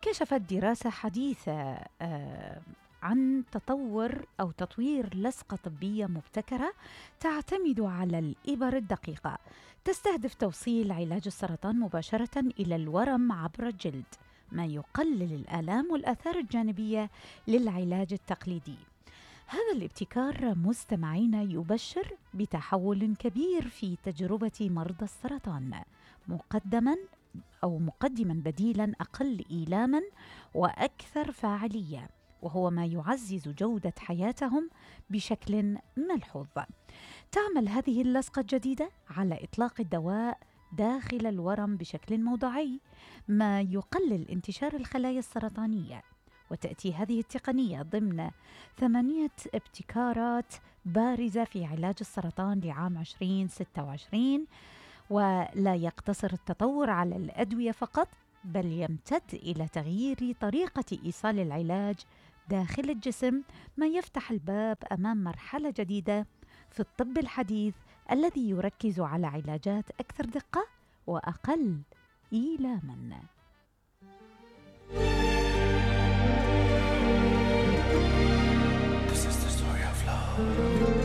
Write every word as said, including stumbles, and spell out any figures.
كشفت دراسة حديثة آه عن تطور أو تطوير لصقة طبية مبتكرة تعتمد على الإبر الدقيقة، تستهدف توصيل علاج السرطان مباشرة إلى الورم عبر الجلد، ما يقلل الآلام والآثار الجانبية للعلاج التقليدي. هذا الابتكار مستمعينا يبشر بتحول كبير في تجربة مرضى السرطان، مقدما أو مقدما بديلا أقل إيلاما وأكثر فاعلية، وهو ما يعزز جودة حياتهم بشكل ملحوظ. تعمل هذه اللصقة الجديدة على إطلاق الدواء داخل الورم بشكل موضعي، ما يقلل انتشار الخلايا السرطانية. وتأتي هذه التقنية ضمن ثمانية ابتكارات بارزة في علاج السرطان لعام عشرين ستة وعشرين، ولا يقتصر التطور على الأدوية فقط، بل يمتد إلى تغيير طريقة إيصال العلاج داخل الجسم، ما يفتح الباب أمام مرحلة جديدة في الطب الحديث الذي يركز على علاجات أكثر دقة وأقل إيلاما.